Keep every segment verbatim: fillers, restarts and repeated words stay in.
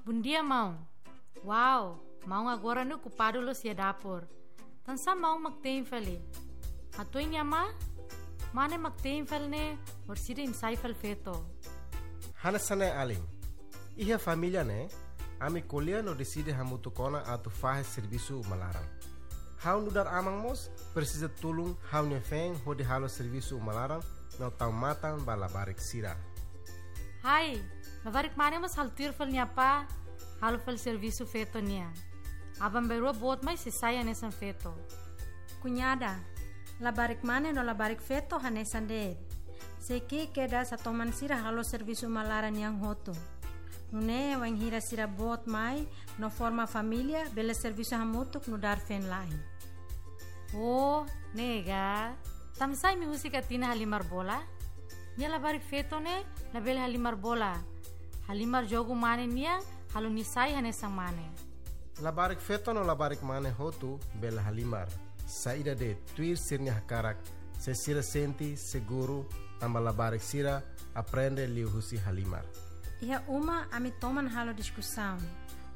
Bondia, maun. Wow, maun agora ne'e okupadu loos iha dapur. Tansá maun mak te'in fali? Hato'o nia mane, mane mak te'in fali ne'e, orsida imi sai fali feto. Hanesan ne'e alin. Iha família ne'e, ami ko'alia no deside hamutuk ona atu fahe servisu uma laran. Ha'u nu'udar aman mós presiza tulun ha'u-nia feen hodi halo servisu uma laran no tau matan ba labarik sira. Hai, labarik mane mós halo tuir fali nia apá, halo fali servisu feto nian. Aban-bainrua boot mai sei sai hanesan feto. Kuñada, labarik mane no labarik feto hanesan de'it. Sei ki'ik kedas hatoman sira halo servisu uma laran nian hotu. Nune'e wainhira sira boot mai no forma família, bele servisu hamutuk nu'udar feen-la'en. Oh, ne'e ka. Tansá imi husik Atina halimar bola? Nia labarik feto ne'e labele halimar bola. Halimar jogu mane nian, halo nia sai hanesan mane. Labarik feto no labarik mane hotu bele halimar. Saida de'it, tuir sira-nia hakarak, se sira sente seguru, tanba labarik sira aprende liuhusi halimar. Iha uma ami toman halo diskusaun.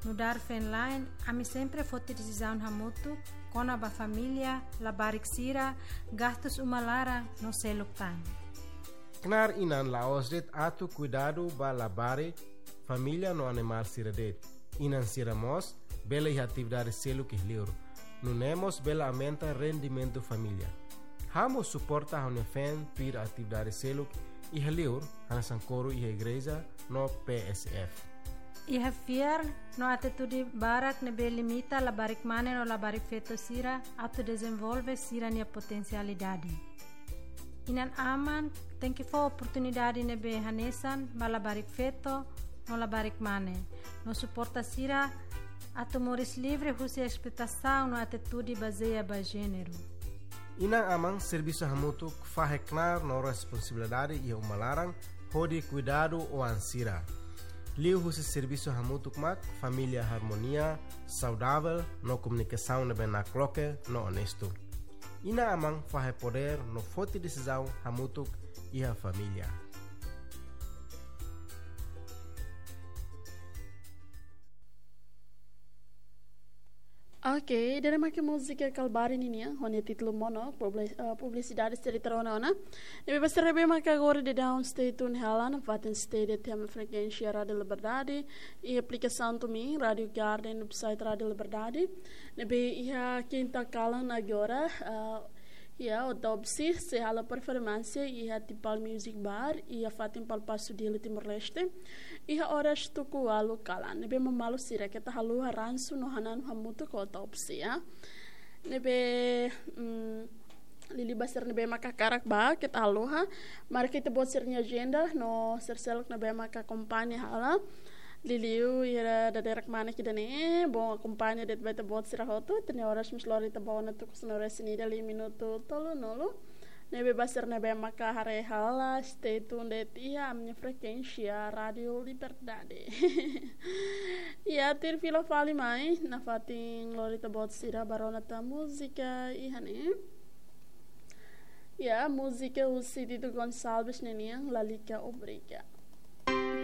Nu'udar feen-la'en, ami sempre foti desizaun hamutuk kona-ba família, labarik sira, gastus uma laran no seluk tan. Knaar inan la'ós de'it atu kuidadu ba labarik, família no animál sira de'it. Inan sira mós bele iha atividade seluk iha li'ur. Nune'e mós bele aumenta rendimentu família. Ha'u mós suporta ha'u-nia feen tuir atividade seluk iha li'ur, hanesan koru iha igreja no P S F. Iha fiar no atitude barak ne'ebé limita labarik mane no labarik feto sira atu dezenvolve sira-nia potensialidade. Inan-aman tenke fó oportunidade ne'ebé hanesan ba labarik feto no labarik mane, no suporta sira atu moris livre husi esploitasaun no atitude bazeia ba jéneru. Inan-aman servisu hamutuk fahe knaar no responsabilidade iha uma laran hodi kuidadu oan sira. Liuhusi servisu hamutuk mak família harmonia, saudavel no komunikasaun ne'ebé nakloke no onestu. Inan-aman fahe podér no foti desizaun hamutuk iha família. Ok, ida-ne'e mak múzika Kalbari ninian, ho nia títulu Mono, publi-, eh, publisidade sira rona ona. Ne'ebé ba sira ne'ebé mak agora daudaun stay tune hela nafatin stay de'it iha ami-nia frekuénsia Rádio Liberdade, iha aplikasaun TuneIn, Rádio Garden, website Rádio Liberdade. Ne'ebé iha kinta kalan agora, eh, iha Otobsi sei halo performansa iha Tipal Music Bar, iha fatin Palpasu, Dili, Timor-Leste. Iha oras tuku ualu kalan. Ne'ebé mamalu sira keta haluha ransu no hananu hamutuk ho Otobsi, ya. Ne'ebé, mm, liuliu ba sira ne'ebé mak hakarak bá keta haluha. Marka ita-boot sira-nia ajenda no sira seluk ne'ebé mak akompaña hela. Liuliu iha dadeer-dadeer mak ida-ne'e, bom akompaña de'it ba ita-boot sira hotu, ita-nia oras mós lori to'o ona tuku sanulu-resin-ida liu minutu tolunulu. Ne'ebé ba sira ne'ebé mak haree hela, stay tune de'it iha ami-nia frekuénsia Rádio Liberdade. Ya, tuir fila fali mai, nafatin lori ita-boot sira bá rona tan múzika iha ne'e. Ya, múzika husi Tito Gonçalves ninian, Lalika Obriga.